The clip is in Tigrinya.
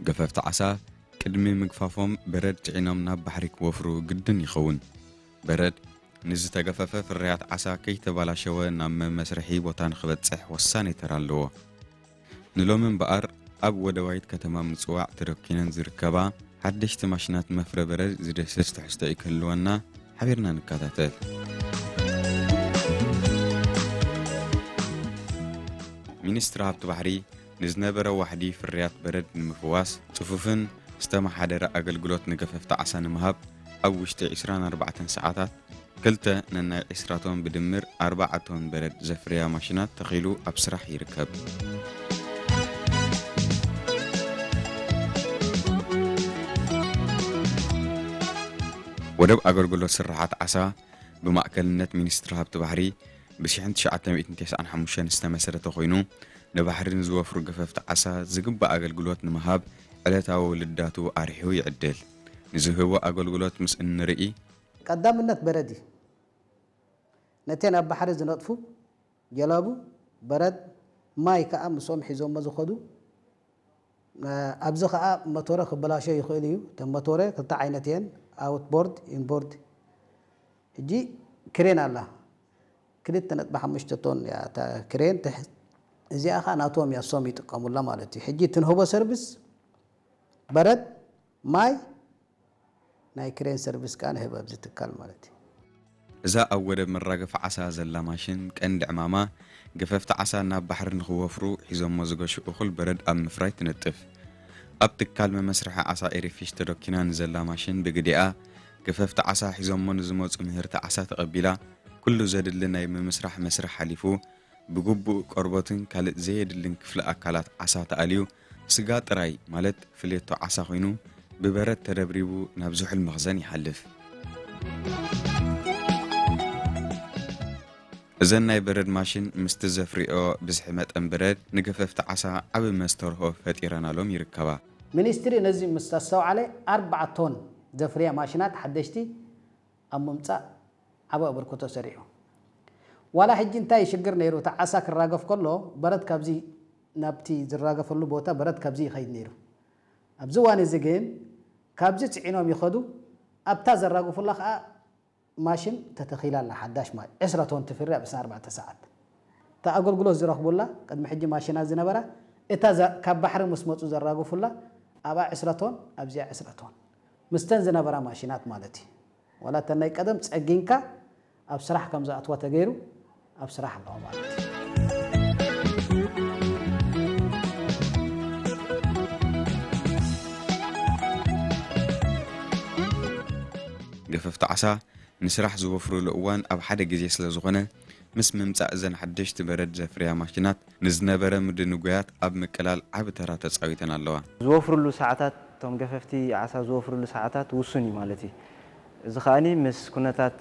ገፈፍቲ ዓሳ ቅድሚ ምግፋፎም በረድ ጽዒኖም ናብ ባሕሪ ክወፍሩ ግድን ይኸውን። በረድ ንዝተገፈፈ ፍርያት ዓሳ ከይተባላሸወ ናብ መመስርሒ ቦታ ንኽበጽሕ ወሳኒ ተራ ኣለዎ። ንሎሚ እምበኣር ኣብ ወደባይት ከተማ ምጽዋዕ ተደኪነን ዝርከባ ሓደሽቲ ማሽናት መፍረ በረድ ዝድህስስ ትሕዝቶ እዩ ክህልወና፣ ሓቢርና ንከታተል። ሚኒስትሪ ሃብቲ ባሕሪ ንዝነበረ ዋሕዲ ፍርያት በረድ ንምፍዋስ ጽፉፍን ዝተመሓደረ ኣገልግሎት ንገፈፍቲ ዓሳ ንምሃብ ኣብ ውሽጢ ዕስራን ኣርባዕተን ሰዓታት ክልተ ነናይ ዕስራ ቶን ብድምር ኣርባዓ ቶን በረድ ዘፍርያ ማሽናት ተኺሉ ኣብ ስራሕ ይርከብ። ወደብ ኣገልግሎት ስርሓት ዓሳ ብማእከልነት ሚኒስትሪ ሃብቲ ባሕሪ ብ ሽሕን ትሽዓተ ሚእትን ተስዓን ሓሙሽተን ዝተመስረተ ኮይኑ፣ ንባሕሪ ንዝወፍሩ ገፈፍቲ ዓሳ ዝግባእ ኣገልግሎት ንምሃብ ዕለታዊ ውልዳቱ ኣርሒቑ ይዕድል። ንዝህቦ ኣገልግሎት ምስ እንርኢ፣ ቀዳምነት በረድ እዩ። ነተን ኣብ ባሕሪ ዝነጥፉ ጀላቡ በረድ፣ ማይ ከኣ ምስኦም ሒዞሞ ዝኸዱ። እ፣ ኣብዚ ከኣ መቶረ ክበላሾ ይኽእል እዩ። እተን መቶረ ክልተ ዓይነት እየን፣ ኣውትቦርድ፣ ኢንቦርድ። ሕጂ ክሬን ኣላ፣ ክልተ ነጥቢ ሓሙሽተ ቶን እያ እታ ክሬን ትሕዝ። እዚኣ ከኣ ናቶም እያ፣ እሶም ይጥቀሙላ ማለት እዩ። ሕጂ ትንህቦ ሰርቪስ በረድ፣ ማይ፣ ናይ ክሬን ሰርቪስ ከኣ ንህብ ኣብዚ ትካል ማለት እዩ። እዛ ኣብ ወደብ መራገፊ ዓሳ ዘላ ማሽን ቀንዲ ዕማማ ገፈፍቲ ዓሳ ናብ ባሕሪ ንኽወፍሩ ሒዞሞ ዝገሹ እኹል በረድ ኣብ ምፍራይ ትነጥፍ። ኣብ ትካል መመስርሒ ዓሳ ኤሪፊሽ ተደኪና ንዘላ ማሽን ብግዲኣ ገፈፍቲ ዓሳ ሒዞሞ ንዝመጹ ምህርቲ ዓሳ ተቐቢላ ኩሉ ዘድሊ ናይ ምምስራሕ መስርሕ ሓሊፉ ብግቡእ ቆርበትን ካልእ ዘየድልን ክፍሊ ኣካላት ዓሳ ተኣልዩ፣ ስጋ ጥራይ ማለት ፍሌቶ ዓሳ ኮይኑ፣ ብበረድ ተደብሪቡ ናብ ዝሑል መኽዘን ይሓልፍ። እዘን ናይ በረድ ማሽን ምስቲ ዘፍርዮ ብዝሒ መጠን በረድ ንገፈፍቲ ዓሳ ዓቢ መስተርሆ ፈጢረናሎም ይርከባ። ሚኒስትሪ ነዚ ምስ ኣስተውዓለ፣ ኣርባዓ ቶን ዘፍርያ ማሽናት ሓደሽቲ ኣብ ምምጻእ ዓቢ ኣበርክቶ ሰሪሑ። ዋላ ሕጂ እንታይ ሽግር ነይሩ? እቲ ዓሳ ክራገፍ ከሎ በረድ ካብዚ ናብቲ ዝራገፈሉ ቦታ በረድ ካብዚ ይኸይድ ነይሩ። ኣብዚ እዋን እዚ ግን ካብዚ ጽዒኖም ይኸዱ፣ ኣብታ ዘራግፉላ ከኣ ማሽን ተተኺላ ኣላ፣ ሓዳሽ ማ-፣ ዕስራ ቶን ትፍሪ ኣብ ዕስራን ኣርባዕተን ሰዓት። እታ ኣገልግሎት ዝረኽቡላ ቅድሚ ሕጂ ማሽናት ዝነበራ፣ እታ ዘ-፣ ካብ ባሕሪ ምስ መጹ ዘራግፉላ ኣብኣ ዕስራ ቶን፣ ኣብዚኣ ዕስራ ቶን። ምስተን ዝነበራ ማሽናት ማለት እዩ። ዋላ እተን ናይ ቀደም ጸጊንካ ኣብ ስራሕ ከም ዝኣትዋ ተገይሩ ኣብ ስራሕ ኣለዋ ማለት እዩ። ገፈፍቲ ዓሳ ንስራሕ ዝወፍሩሉ እዋን ኣብ ሓደ ግዜ ስለ ዝኾነ፣ ምስ ምምጻእ እዘን ሓደሽቲ በረድ ዘፍርያ ማሽናት ንዝነበረ ምድንጓያት ኣብ ምቅላል ዓቢ ተራ ተጻዊተን ኣለዋ። ዝወፍሩሉ ሰዓታት፣ እቶም ገፈፍቲ ዓሳ ዝወፍሩሉ ሰዓታት ውሱን እዩ ማለት እዩ። እዚ ከኣኒ ምስ ኩነታት